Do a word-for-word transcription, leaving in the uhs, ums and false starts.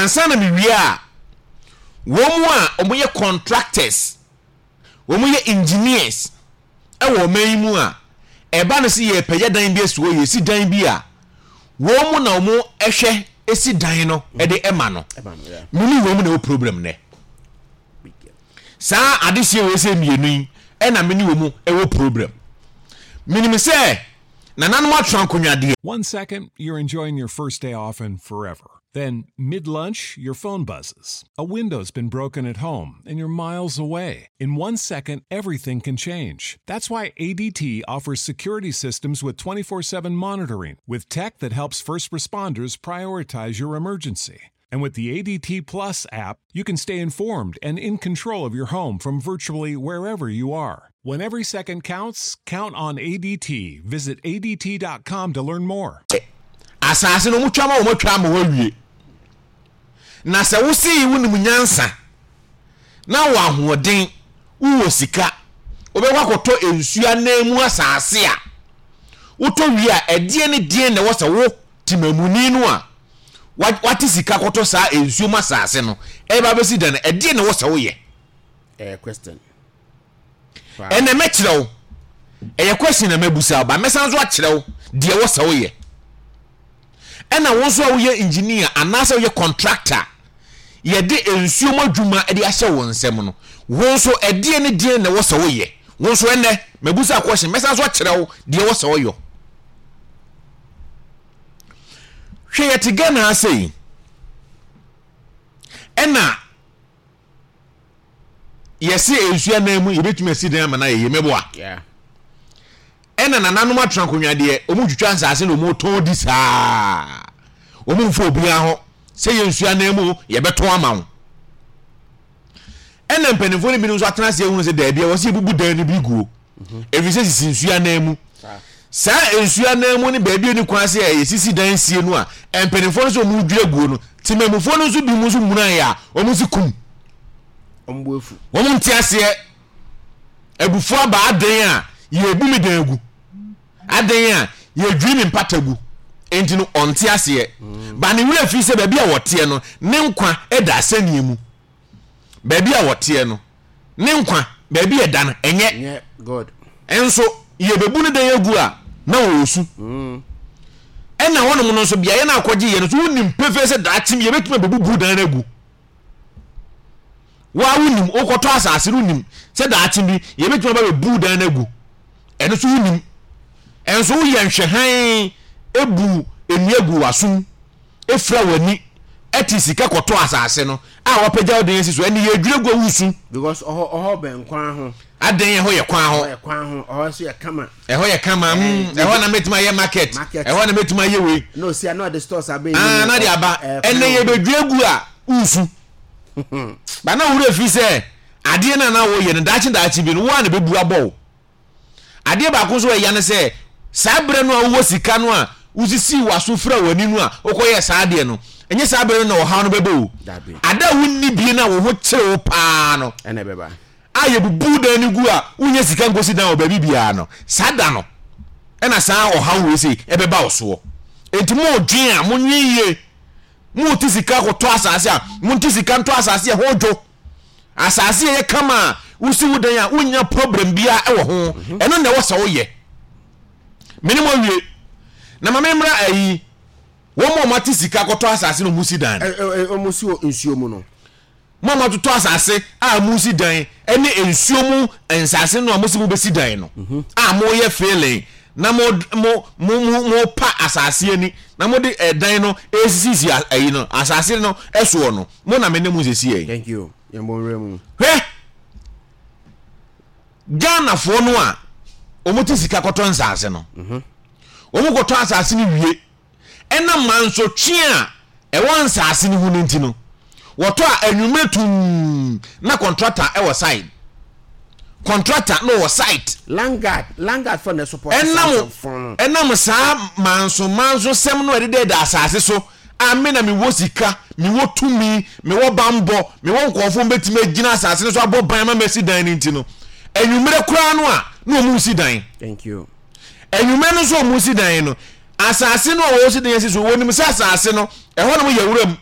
Ansa na mewie a, wɔn mu a wɔyɛ contractors, wɔn yɛ engineers ɛwɔ ɔman yi mu a, ɛba no sɛ yɛpɛgya dan bi asi hɔ, yɛsi dan bi a, wɔn mu na wɔn ɛhwɛ esi dan no ɛde ɛma no. Ɛma no, yeah. Mene wɔn mu na ɛwɔ problem nɛ. Saa adehyɛ wei sɛ mmienu yi ɛna mene wɔn mu ɛwɔ problem. Menim sɛ nananom atena akonnwa deɛ. One second, you're enjoying your first day off and forever. Then, mid lunch, your phone buzzes. A window's been broken at home and you're miles away. In one second, everything can change. That's why A D T offers security systems with twenty-four seven monitoring, with tech that helps first responders prioritize your emergency. And with the A D T Plus app, you can stay informed and in control of your home from virtually wherever you are. When every second counts, count on A D T. Visit A D T dot com to learn more. Asase no wɔtwa ma wɔn atwa ama wɔawie, na sɛ wosii wonim nyansa na wɔ ahoɔden, wowɔ sika, wobɛkɔ akɔtɔ nsuo anan mu asase a, wotɔ wie a, ɛdeɛ ne deɛ na ɛwɔ sɛ wo temamuni no a wa- wate sika kɔtɔ saa nsuo mu asase no ɛba bɛsi dan no, ɛdeɛ na ɛwɔ sɛ woyɛ? Ɛyɛ question. Paa. Ɛnɛ mɛkyerɛ wo, ɛyɛ question na mɛbusa wo ba, mɛsan so akyerɛ wo deɛ ɛwɔ sɛ woyɛ. Ɛna wo nso a woyɛ engineer anaasɛ woyɛ contractor, yɛde nsuo mu adwuma de ahyɛ wo nsɛm no, wo nso ɛdeɛ ne deɛ na ɛwɔ sɛ woyɛ? Wo nso ɛnɛ mɛbusa question, mɛsan so akyerɛ wo deɛ ɛwɔ sɛ woyɔ. Hwɛ, yɛte Ghana ha sei, ɛna yɛse nsuo anan mu yɛbɛtumi asi dan ama no ayɛ yie, mɛboa? Yeah. Ɛna nananom atena akonnwa deɛ, ɔmu twitwa nsase na ɔmu tɔn di saa, ɔmu mfa obiara ho sɛ yɛ nsuo anan mu yɛbɛtɔn ama wo. Ɛna mpanimfoɔ no binom nso atena ase ehunu sɛ daabi a wɔsi ebubu dan no bi guo, ɛfiri sɛ sisi nsuo anan mu. Saa nsuo anan mu ne baabi a ni kwan sɛ yɛsisi dan sie no a, mpanimfoɔ no nso ɔmu dwira guo no, temamufoɔ no nso bi mu nso muna yɛ a wɔn nso kum. Ɔmo bu efu. Wɔn nte aseɛ, abufuo aba. Adan a yɛbu mi dan gu, adan a yɛdwiri mi mpata gu, nti no ɔnte aseɛ ba ne werɛ fi sɛ baabi a wɔteɛ no ne nkwa da asɛnniɛ mu. Baabi a wɔteɛ no ne nkwa baabi a ɛda no ɛnyɛ Nyɛ God. Nso yɛbɛbu no dan agu a na wɔresu. Ɛna hɔnom no nso beaeɛ no akɔgye yɛ no nso, wonim pefee sɛ daakye bi yɛbɛtumi abɛbubu dan no agu. Waa, wonim, wokɔtɔ asase no, wonim sɛ daakye bi yɛbɛtumi aba bɛbu dan no agu. Ɛno nso wonim, ɛnso woyɛ nhwɛhan, ebu nnua gu w'asom, efira w'ani, ɛte sika kɔtɔ asase no a wapagya wo dan asi so, ɛne yɛdwira gu a wosu. Because ɔhɔ ɔhɔ bɛn kwan ho. Adan ɛhɔ yɛ kwan ho. Ɔhɔ yɛ kwan ho, ɔhɔ nso yɛ kama. Ɛhɔ yɛ kama mm, ɛhɔ na mɛtumi ayɛ market. Market. Ɛhɔ na mɛtumi ayɛ wei. Na osi a na ɔde stores abɛn. Aa, na de aba ɛnɛ yɛbɛdwira gu a wosu ba na wura fi sɛ adeɛ no a na wɔyɛ no, daakye daakye bi no, wo a na bɛbu abɔ wo. Adeɛ baako nso a ɛya ne sɛ saa berɛ no a wowɔ sika no a wosisii w'aso fira w'ani no a wokɔyɛɛ saa adeɛ no, ɛnyɛ saa berɛ no na ɔhaw no bɛbɛ o. Dabi. Ada a wonni bie no a wo ho kyere wo paa no ɛna ɛbɛba a yɛbubu dan no gu a wonyɛ sika nkosi dan wɔ baabi biara no, saa da no ɛna saa ɔhaw wei sei ɛbɛba wo soɔ. Enti moodwen a, monwen yie. Mote sika kɔtɔ asase a, monte sika ntɔ asase a ɛho dwo, asase a ɛyɛ kama a wosi wo dan a wonya problem biara ɛwɔ ho. Ɛno na ɛwɔ sɛ woyɛ. Mene mo awie na ma memmra ayi wɔn a wɔate sika kɔtɔ asase na wɔn si dan no. Ɛ ɛ ɔmo si wɔ nsuo mu no. Mo a moatotɔ asase a mosi dan ne nsuo mu nsase no a mosi mobɛsi dan no a moyɛ filling na mo mo mo mo mopa asase ani na mode ɛdan no esisisi ayi no asase no ɛsoɔ no, mo na me ne mo sisi yɛ. Thank you, yɛn bɔ nwura mu. Hwɛ, Ghanafoɔ no a wɔn te sika kɔtɔ nsase no, wɔn kɔtɔ asase no wie, ɛnam mansotwe a ɛwɔ nsase no ho no nti no, wɔtɔ a, anwummerɛ tum na contractor ɛwɔ site, contractor na ɔwɔ site. Landguard, landguard fɔ na support. Ɛnam fɔn no. Ɛnam saa manso manso sɛm no a ɛdeda ɛda asase so a, me na mewɔ sika, mewɔ tumi, mewɔ bambɔ, mewɔ nkɔɔfoɔ mbɛtumi agyina asase no so abɔ ban ma masi dan no nti no, anwummerɛ koraa no a na ɔmu si dan. Thank you. Anwummerɛ no nso ɔmu si dan no, asase no a wɔsi dan asi so, wɔnim sɛ asase no ɛhɔ nom yɛ wuram.